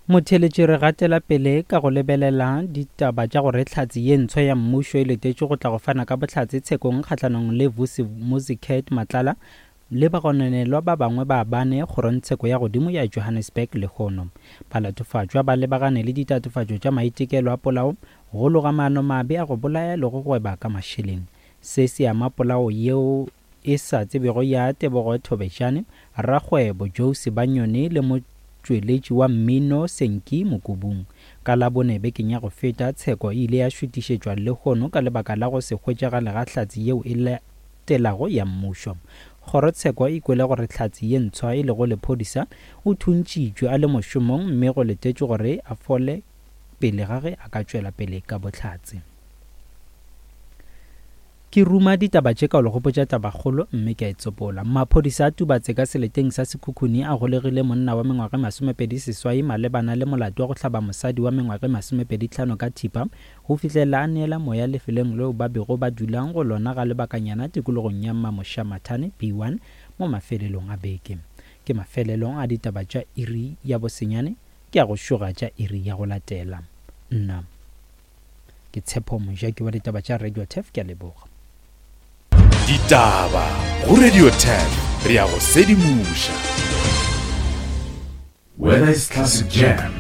Motheeletši re gatela pele ka go lebelela ditaba tša gore hlatse ye ntshwa ya mmušo e letetšwe go tla go fana ka bohlatse tshekong kgahlanong le Vusi Muzicat Matlala le bagononelwa ba bangwe ba bane kgorongtsheko ya godimo ya Johannesburg lehono. Balatofatšwa ba lebagane le ditatofatšo tša maitekelo a polao, go loga maanomabe a go bolaya le go gweba ka mašeleng. Se se ama polao yeo e sa tsebego ya Tebogo Thobejane, rakgwebo Joe Sibanyoni le motšweletši wa mmino Senki Mokubung. Ka Labone bekeng ya go feta, tsheko e ile ya šutišetšwa lehono ka lebaka la go se hwetšagale ga hlatse yeo e latelago ya mmušo. Kgorotsheko e kwele gore hlatse ye ntshwa e lego lephodisa o thuntšitšwe a le mošomong mme go letetšwe gore a fole pele ga ge a ka tšwela pele ka bohlatse. Ke ruma ditaba tše ka go le gopotša tabakgolo mme ke a e tsopola. Maphodisa a Tubatse ka seleteng sa Sekhukhune a golegile monna wa mengwaga e 28 malebana le molato wa go hlaba mosadi wa mengwaga e 25 ka thipa go fihlela a neela moya lefelong leo ba bego ba dulang go lona ga lebakanyana tikologong ya Mmamošamathane B1 mo mafelelong a beke. Ke mafelelong a ditaba tša iri ya bosenyane, ke a go šoga tša iri ya go latela. Nna. Ke Tshepo Mojaki wa ditaba tša Radio Turf, ke a leboga. Ditaba go Radio Turf, re a go sedimoša. Whether it's classic jam,